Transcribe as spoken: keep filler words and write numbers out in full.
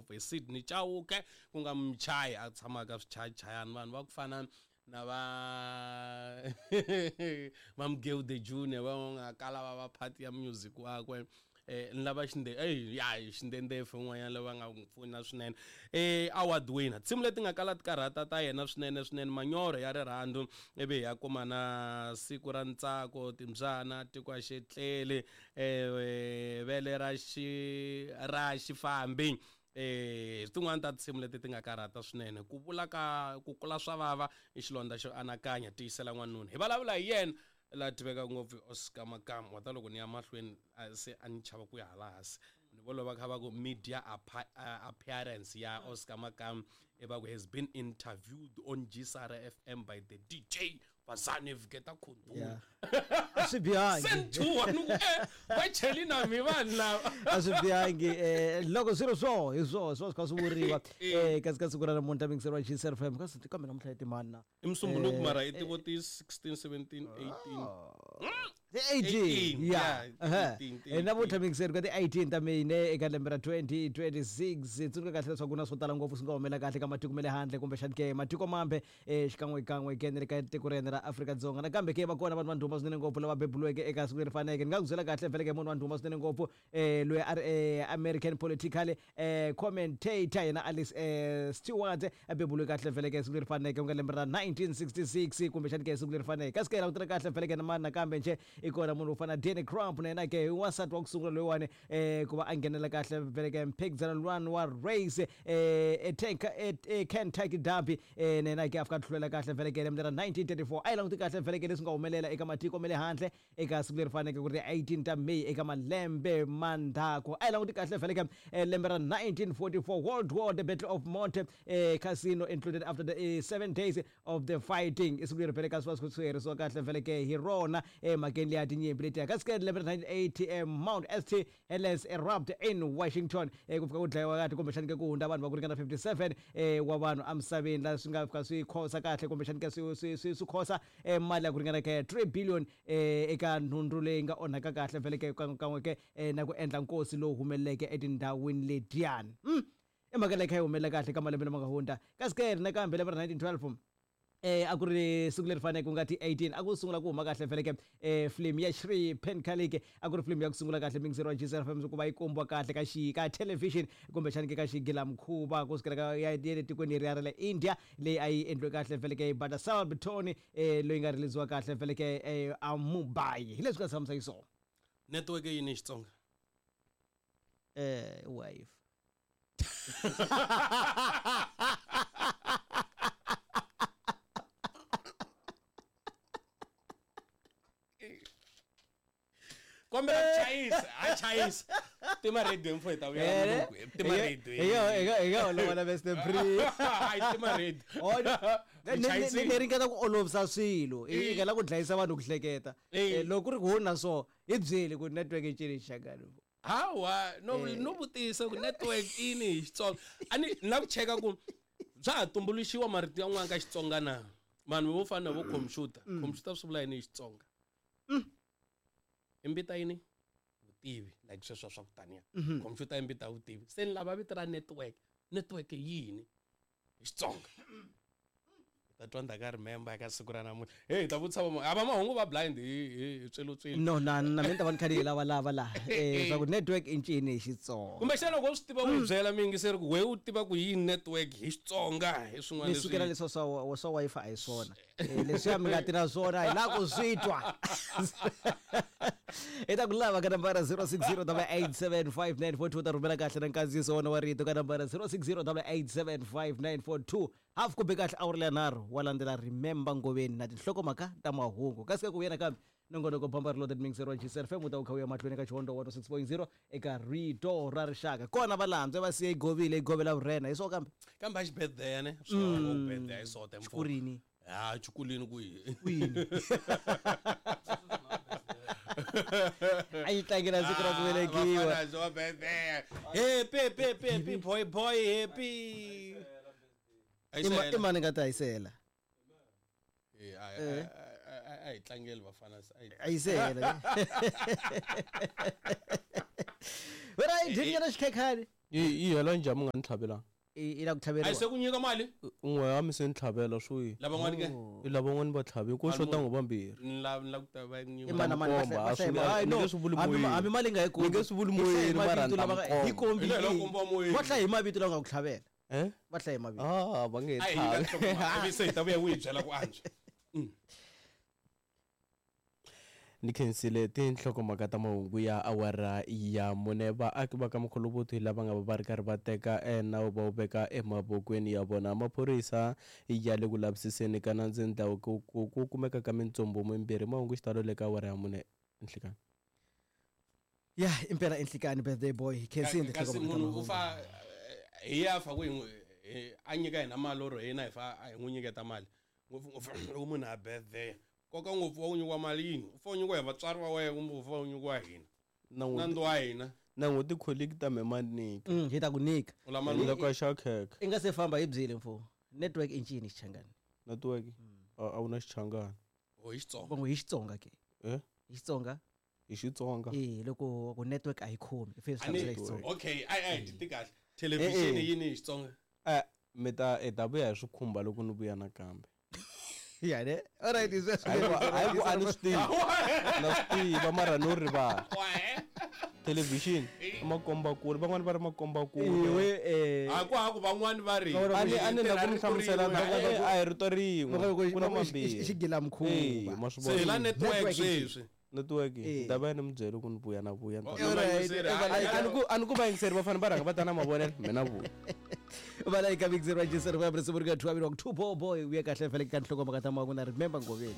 ngopfu hi Sydney Chauke ku nga muchayi a tshamaka swichayachayani vanhu va ku fana na va va Mgeu the Junior va nga kala va va part ya music wakwe eh ni lava xinde eh ya xindendefe un'wanyana lava nga n'wi pfuna swinene eh award winner tinsimu leti nga kala ti karhata ta yena swinene swinene manyoro ya rirhandzu ivi ya kuma na siku ra ntsako timbyana tiko a xetlele eh vele ra xi ra xifambi eh tin'wana ta tinsimu leti ti nga karhata swinene ku vula ka ku kula swa vava i xilondza xo anakanya tiyisela n'wanuna hi vulavula hi yena la tiveka ngopfu Oscar Makamu wa ta loko ni ya mahlweni se a ni chava ku ya hala hansi ni vo lova kha va ku media appearance ya Oscar Makamu e va ku has been interviewed on G S R F M by the D J Vazani Vuketa Khundula a swi bihangi send to ni ku eh va cheli na mi vanhu lava a swi bihangi eh loko swilo swo hi swo swo swi swi vuriwa eh kasi ka siku ra namuntlha mingiseriwa G S R F M kasi kambe namuntlha i timani na i musumbunuku mara i tivo ti sixteen seventeen eighteen ti eighteen yeah eh namuntlha mingiseri ka ti eighteen ta May ne eka lembe ra twenty twenty-six tsundzuka kahle leswaku na swo tala ngopfu swi nga humela kahle ka matiko ma le handle kumbexani ke matiko mambe eh xikan'we kan'we ke ni le ka tiko ra hina ra Afrika-Dzonga nakambe ke va kona vanhu va ndhuma swinene ngopfu lava beburiweke eka siku leri faneke ni nga ku byela kahle vhele ke munhu wa ndhuma swinene ngopfu eh loyi a ri eh, American political eh commentator yena Alice eh, Stewart a beburiwe kahle vhele ke siku leri faneke ku nga lembe ra nineteen sixty-six kumbexani ke siku leri faneke kasi ke langutela kahle vhele ke na mani nakambe nje i kona munhu wo fana Danny Crump na yena ke wansati wa ku sungula loyiwani eh ku va a nghenela kahle vhele ke mphikizano luwani wa race eh e Kentucky Derby eh na yena ke a fika tlhulela kahle vhele ke lembe ra nineteen thirty-four a yi languti kahle vhele ke leswi nga humelela eka matiko ma le handle eka siku leri faneke ku ri eighteen ta May eka malembe mandzhaku a yi languti kahle vhele ke lembe ra nineteen forty-four World War the Battle of Monte eh, Cassino included after the eh, seven days of the fighting i siku leri vhele ka swi va swi herisiwa kahle vhele ke hi rona emhakeni leya tinyimpi letiya kasi ke lembe ra nineteen eighty eh, Mount St Helens erupt in Washington eh, ku fika ku dlayiwa kahle kumbexani ke ku hundza vanhu va ku ringana fifty-seven eh, wa vanhu emisaveni laha swi nga fika swi khosa kahle kumbexani ke swi swi swi swi khosa eh, mali ya ku ringana ke three billion eh, eka nhundzu leyi nga onhaka kahle vhele ke kan'we ke eh, na ku endla nkosi lowu humeleleke etindhawini letiyani mm. i mhaka leyi kha yi humelela kahle ka malembe lama nga hundza kasi ke nakambe lembe ra nineteen twelve eh a ku ri siku leri faneke ku nga ti eighteen a ku sungula ku huma kahle vhele ke eh film ya Shri Penkalik a ku ri film ya ku sungula kahle mingiseri wa G S R F M ku va yi kombiwa kahle ka xi ka television kumbexani ke ka xigilamkhuva ku sukela ka ya le tikweni leri ra le India leyi a yi endliwe kahle vhele ke Badasal Bitoni eh loyi nga release-iwa kahle vhele ke eh, a Mumbai hi leswi nga tshamisa xiswona network yini hi Xitsonga eh wife kombela ku chayisa a chayisa tima radio mfo hi ta vuya tima radio hi nga olova na best free hayi tima radio ni ni ringeta ku olovisa swilo i nga la ku dlayisa vanhu ku hleketa loko ku ri ku hona so hi byeli ku network yi cini xakani hawa no no vutisa ku network ini hi Xitsonga a ni na ku cheka ku bya ha tumbuluxiwa marito yan'wana ka Xitsonga na vanhu vo fana na vo computer computer swi vula yini hi Xitsonga i mbita yini vutivi like sweswo swa ku taniya computer i mbita vutivi se ni lava vito ra network network yini hi Xitsonga ta twa ndaka remember ka siku ra namuntlha hey ta vutisa va a va mahungu va blind hi hi tswelotswelo no na na mina ta va ni kha ni lava lava laha eh swa ku network i ncini hi Xitsonga kumbexana loko u swi tiva u byela miyingiseri ku we u tiva ku yini network hi Xitsonga hi swin'wana leswi sukela leswo swa swa Wi-Fi a hi swona leswiya mi nga tirha swona hi la ku swi twa i ta ku lava ka nambara zero six zero double eight seven five nine four two ta rhumela kahle na nkandziyiso wona wa rito ka nambara zero six zero double eight seven five nine four two half kumbe kahle awuri leya nharhu wa landzela Remember Ngoveni na tinhlokomhaka ta mahungu kasi ka ku vuya nakambe nongonoko bamba ri loaded mixer wa G S R F M u ta wu kha wu ya mahlweni ka Xihondo one oh six point zero eka Rito ra Rixaka kona va landzwe va siye govile yi govela vurhena hi swo kambe kambe a xi birthday ne swo birthday hi sote mfo xikulini ha xikulini kwihi kwini a yi tlangela siku ra ku velekiwa happy happy happy boy boy happy i mani nga ta hisela eh a yi tlangeli vafana a yisela wena i dyini nyana xikhekhani Yi yi hela njhani mi nga ni tlhavelanga? I la ku A tlhaveriwa. se ku nyika mali? Un'we wa mi se ni tlhavela swo yi. Lavan'wana ke? I lavan'wana va tlhavi ko xota ngo vambirhi. Ni la ni la ku ta va nyika. I mana mani va Komba, a hlaya swi hi ni no nge swi vuli hambi moyeni. hambi mali nga yi kombi. Ni nge swi vuli Hi hlaye moyeni, mara mavito ni ta lava mi nga- komba. hi kombi Hi leyi hi- loko kombiwa moyeni. Va hlaye hi mavito lava nga ku tlhavela. Eh? Va hlaye hi mavito. Ah, va nge A hi nyika tlhavi. nhlokomhaka, ivi se hi ta vuya u hi byela ku antswa. Ni khensile tinhlokomhaka ta mahungu ya awara ya mune. Vaaki va ka Mkholobothi lava nga va va ri karhi va teka nawu va wu veka emavokweni ya vona. Maphorisa ya le ku lavisiseni ka nandzu ndhawu ku ku ku kumeka ka mintsumbu mimbirhi. Mahungu xitalo le ka awara ya mune nhlikani. Ya impela enhlikani birthday boy. Khensile Kasi tinhlokomhaka ta munhu u mahungu. fa hi ya fa ku hi n'wi a nyika hina mali or hina hi fa a hi n'wi nyiketa mali. Ngopfungopfu loko munhu a birthday. Nkoka ngopfu wa ku nyikiwa mali yini? U fa u nyikiwa hi vatswari va wena kumbe u fa u nyikiwa hi hina? Na n'wi Nandzu wa hina. na n'wi ti-colleague ta me ma nyika. Mm, hi ta ku nyika. U la mali Loko a xava khekhe. I nga se famba hi byeli mfo. Network i ncini xichangani? Network? A a wu na xichangani. Oh, hi Xitsonga. Vongo hi Xitsonga ke. Eh? Hi Xitsonga? Hi Xitsonga. Eh, loko ku network a yi khomi. I fanele A ni- swi hlamusela hi Xitsonga. Okay, ai ai ti kahle. Television Eh, eh. yini hi Xitsonga? Eh, mi ta i ta vuya hi swikhumba loko ni vuya nakambe. Ya ne? All right, is sweswo. Hayi ku hayi ku a ni swi tivi. Na swi tiva mara no rivala. Television i makombakule, van'wani va ri makombakule. Iwe eh A ku ha ku van'wani va ri. A ni a ni la ku mi hlamusela Tirha na rito rin'we. a hi rito rin'we. Ku na i mambirhi. xigilamkhuva. Eh, ma swi Se hi la vona. network Network sweswi. Network Eh. ni ta vuya ni mi byela ku ni vuya na vuya. Oh, All right. A ni ku a ni ku vayingiseri va fanele va rhanga va ta na mavonelo mina vuya. Va la eka Big Zero Register va risimu ri ka two two boy boy uya kahle vhele ka nhlokomhaka ta mahungu na remember Ngoveni.